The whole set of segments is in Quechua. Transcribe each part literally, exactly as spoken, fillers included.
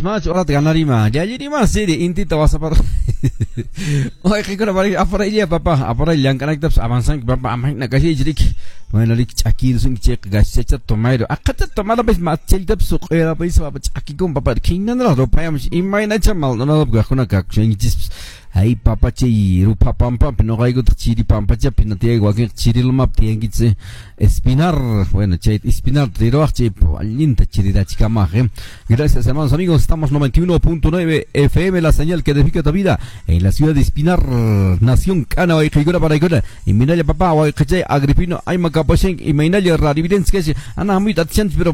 Más horat ganarima. Yallirima siri intita wasapar. Wayqikuna aparaylla papá, aparaylla llamk'anaytapas avanzanki papá, amahina kashichrik. Bueno, rik ch'akirsunki chayqa gaschacha tomayro. Aqhacha tomarapis machaytapas suq'irapis papa ch'akikun papá. Khinanraq ruphayamush imaynacha Maldonado kaqkuna kakushankichispas. Ay papá chay rupha pampapi noqaykutaq chiri pampachapi tiyayku wakinqa chiri lumapi tiyankichis Espinar, bueno, chay Espinar riruwaq chay allinta chirirachikamaq. eh. Gracias hermanos amigos, estamos noventa y uno punto nueve F M, la señal que edifica tu vida en la ciudad de Espinar, Nación Cana, wayqikuna paraykuna. Y minalla papá, wayqichay Agripino, Aymakapashenk, y minalla Radividencia, ana hamuyta atishanchis, pero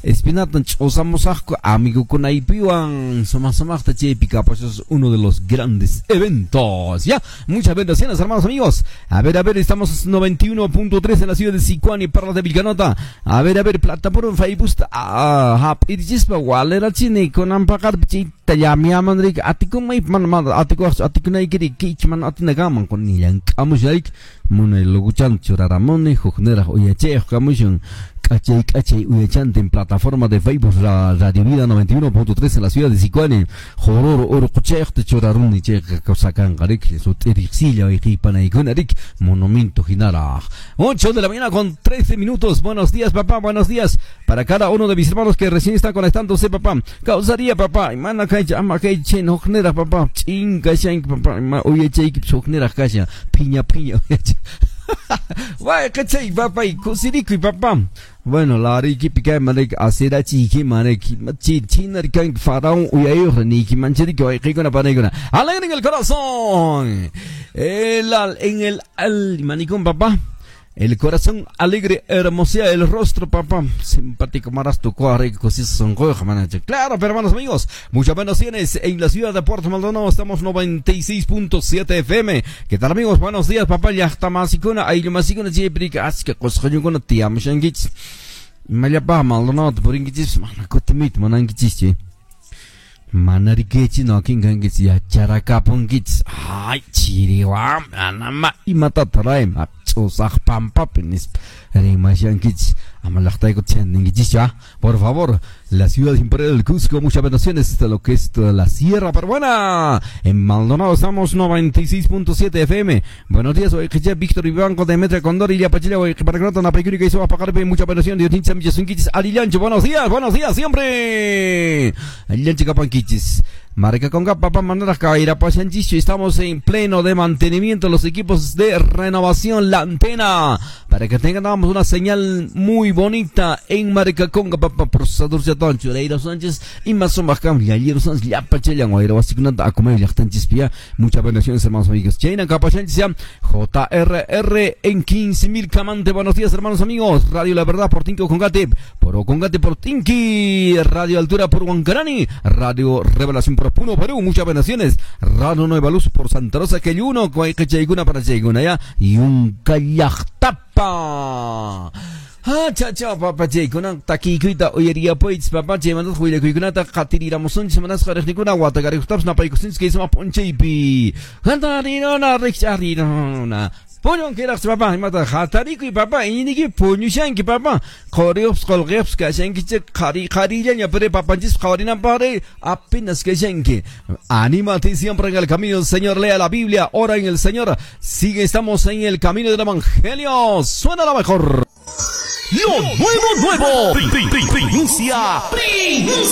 Espinartan ch'usamusaqku amigukunaypiwan sumaq sumaqta chaypi kapachos uno de los grandes eventos. Ya, muchas bendiciones hermanos amigos. A ver, a ver, estamos noventa y uno punto tres en la ciudad de Sicuani, Perlas de Vilcanota. A ver, a ver, plataforma Facebook, ah, hap'irichispa walerachini kunampaqarpi chayta llamiaman rik atikunmay mana mana atikuwaqchu atikunaykiri kich mana atinakaman kunillankamushayk munay luguchan churaramuni hukniraq uyachayuq kamushun k'achay k'achay uyachante en plataforma de Facebook la Radio Vida noventa y uno punto tres en la ciudad de Sicuani. Jororo urquchayuqta churaruni chayqa kawsakanqa rik sut'iriqsilla wayqipanaykuna rik monumento hinaraq. ocho de la mañana con trece minutos. Buenos días papá, buenos días para cada uno de mis hermanos que recién están conectándose papá. Causaría papá, imana kaycha ama kaycha hukniraq papá, chinkashanki papá, ima uyachaykipas hukniraq kashan, piña piña uyachay. Wayqichay papá, kusirikuy papá. Bueno, la arikipi kay manek asirachiyki manek chinari kanki faraón uyayuq niyki manchiriki wayqikuna panaykuna. Alegre en el corazón. El al, en el al manicón papá. El corazón alegre hermosea el rostro, papá. Simpático marasto, claro, pero hermanos amigos, muchas bendiciones en la ciudad de Puerto Maldonado. Estamos noventa y seis punto siete F M. ¿Qué tal, amigos? Buenos días, papá. Llaqtamasikuna, ayllumasikuna, chaypirika, aska qusqayunkuna tiyamushankichis. Mallapa Maldonado purinkichis, mana kutimit munankichis, chay. Manarikichi no kinkankichis, yacharakapunkichis. Ay, chiriwa, anama, imatata raim. Ch'usaq pampapi nispa rimashankichis. Amalaqtayku channinkichis ya. Por favor, la ciudad imperial del Cusco, muchas bendiciones de lo que es toda la sierra peruana. En Maldonado estamos noventa y seis punto siete F M. Buenos días, hoy Víctor Ibanco, Demetria Condor, Ilia Pachila, hoy Paragrata, Napaycuri, Isoa, Pacarpe, muchas bendiciones, Dios Nincha, Millasunquichis, Alilancho, buenos días, buenos días, siempre. Alilancho Capanquichis. Marca Conga, papá, Manuel Caira, Pachanchicho, estamos en pleno de mantenimiento los equipos de renovación, la antena, para que tengamos una señal muy bonita en Marca Conga, papá, procesador Chatón, Chureiro Sánchez, y más o menos, Yayero Sánchez, Yapachela, Guairo, Basikunanta, Acomeo, Yachtanchispia, muchas bendiciones, hermanos amigos. China, Capachanchis, J R R en quince mil Camante, buenos días, hermanos amigos. Radio La Verdad por Tinko Congate, por Congate por Tinki, Radio Altura por Huancarani, Radio Revelación por Puno, Perú, muchas bendiciones. Radio Nueva Luz por Santa Rosa, que uno, Chayguna para Chayguna, ya, y un Callajtapa. Ah, cha cha, papá, chaykuna, takikuyta, uyería poits, papá, chaymantas, huilakuykunata, qatiriramusunchis, manasqa riqnikuna, watakarikuqtapas, napaykusunchis, kay ponchaypi. Hantarirona, riqch'arirona. Puñunquiraqchu, papá, imata, hatarikuy, papá, iñiniki, puñushanki, papá. Quriyuqpas, qulqiyuqpas, kashankichik, qhari, qharillaña, pero papanchis, qhawarinanpaqri, apenas kashanki. Anímate siempre en el camino del Señor, lea la Biblia, ora en el Señor. Sigue, estamos en el camino del Evangelio. Suena la mejor. Lo nuevo, nuevo. Primicia. Primicia.